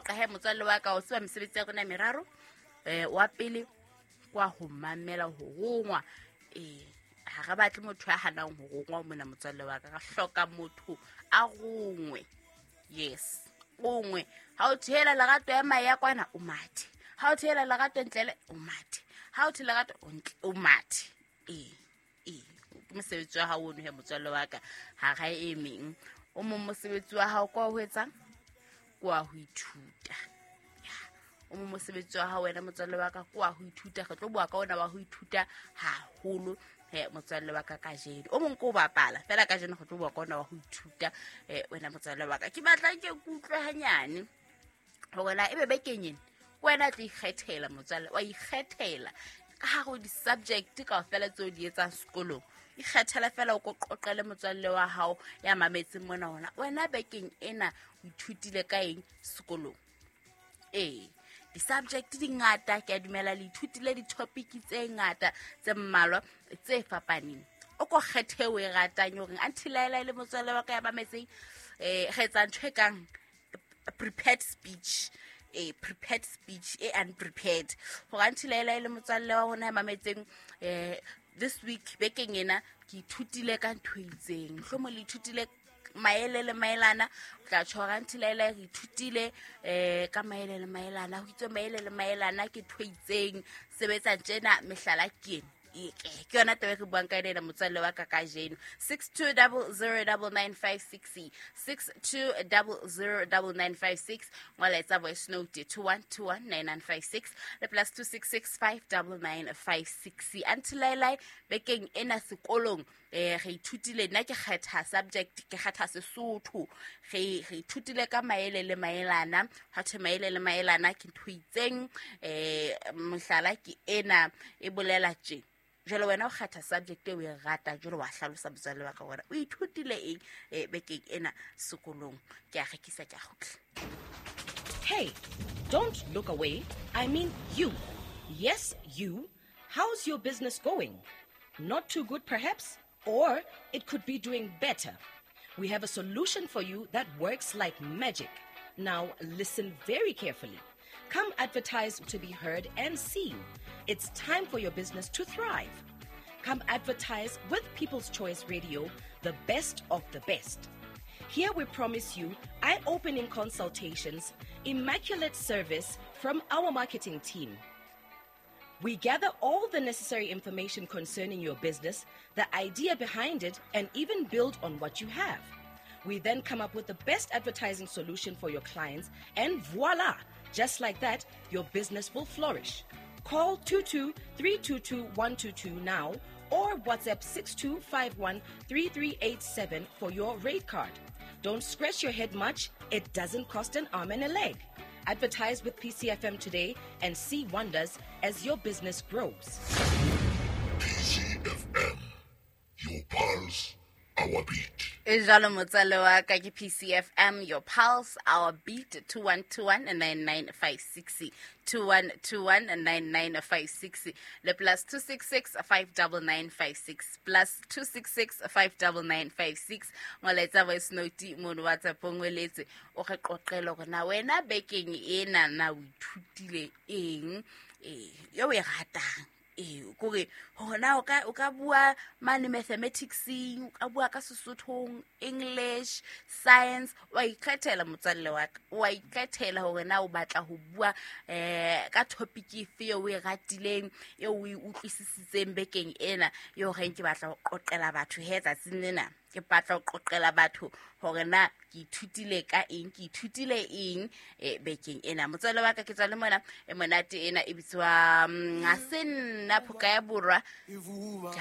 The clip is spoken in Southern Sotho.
Qoqa he motswalle wa ka, o tseba mesebetsi ya rona e meraro. Wa pele kwa ho mamela ho rongwa. Ha re batle motho ya hanang ho rongwa mona motswalle wa ka, re hloka motho a rongwe. Yes, rongwe. Ha o thehela Lerato ya mae ya kwana, o mathe. Ha o thehela Lerato ntlele, o mathe. Ha o the Lerato o ntle, o mathe. Ee, ke mosebetsi wa hao ono he motswalle wa ka. Ha ra e meng o mong mosebetsi wa hao kwa ho etsang, kwa ho ithuta. O mong mosebetsi wa hao wena motswalle wa ka kwa ho ithuta. Re tlo bua ka ona wa ho ithuta haholo he motswalle wa ka kajeno. O mong ke o bapala fela, kajeno re tlo bua ka ona wa ho ithuta. Wena motswalle wa ka, ke batla ke kutlwe hanyane hore na ebe bekeng ena wena tlo ikgethela motswalle, wa ikgethela ka hare ho di-subject kaofela tseo di etsang sekolong. Ikgethela fela, o ko qoqele motswalle wa hao ya mametseng mona hona wena bekeng ena o ithutile ka eng sekolong. Ee, di-subject di ngata, ke a dumela le ithutile di-topic tse ngata tse mmalwa tse fapaneng. O ko kgethe o e ratang horeng until le motswalle wa ka ya mametseng. Re etsa ntho e kang prepared speech, a prepared speech e unprepared, gore until le motswalle wa rona ya mametseng, this week, bekeng ena, ke ithutile ka ntho e itseng. Mohlomong le ithutile maele le maelana, o tla tjho hore until re ithutile ka maele le maelana, ho itswe maele le maelana ke ntho e itseng, sebetsa tjena, mehlala ke ena. Ke yona taba e re buang ka yona ena motswalle wa ka kajeno. 62009956, 62009956. Ngola, etsa voice note, 21219956 le +266 59956. Until bekeng ena sekolong re ithutile, nna ke kgetha subject, ke kgetha Sesotho, re ithutile ka maele le maelana. Ha thwe maele le maelana ke ntho e itseng, mohlala ke ena, e bolela tje. Jwale wena o kgetha subject e o e ratang, jwale wa hlalosa motswalle wa ka gore o ithutile eng bekeng ena sekolong. Ke a rekisa, ke a kgutla. Hey, don't look away. I mean you. Yes, you. How's your business going? Not too good, perhaps? Or it could be doing better. We have a solution for you that works like magic. Now, listen very carefully. Come advertise to be heard and seen. It's time for your business to thrive. Come advertise with People's Choice Radio, the best of the best. Here we promise you eye opening consultations, immaculate service from our marketing team. We gather all the necessary information concerning your business, the idea behind it, and even build on what you have. We then come up with the best advertising solution for your clients, and voila! Just like that, your business will flourish. Call 22 322 122 now or WhatsApp 6251 3387 for your rate card. Don't scratch your head much, it doesn't cost an arm and a leg. Advertise with PCFM today and see wonders as your business grows. PCFM, your pulse, our beat. E jalo motswalle wa ka, ke PCFM, your pulse, our beat. 2121 9956, 2121 9956 le +266 59956, +266 59956. Ngwaletsa voice note mono WhatsApp, ngweletse o re qoqele gore na wena bekeng ena na o ithutile eng yo o e ratang. Ee, kore hona o ka bua mane mathematicseng, o ka bua ka Sesothong, English, science, wa ikgethela motswalle wa ka, wa ikgethela hore na o batla ho bua ka topic efe eo o e ratileng, eo o e utlwisisitseng bekeng ena, eo reng ke batla ho qoqela batho he tsatsing lena, ke batla ho qoqela batho hore na ke ithutile ka eng, ke ithutile eng bekeng ena. Motswalle wa ka, ke tswa le mona e monate ena e bitswa ha se nna phoka ya borwa. Ke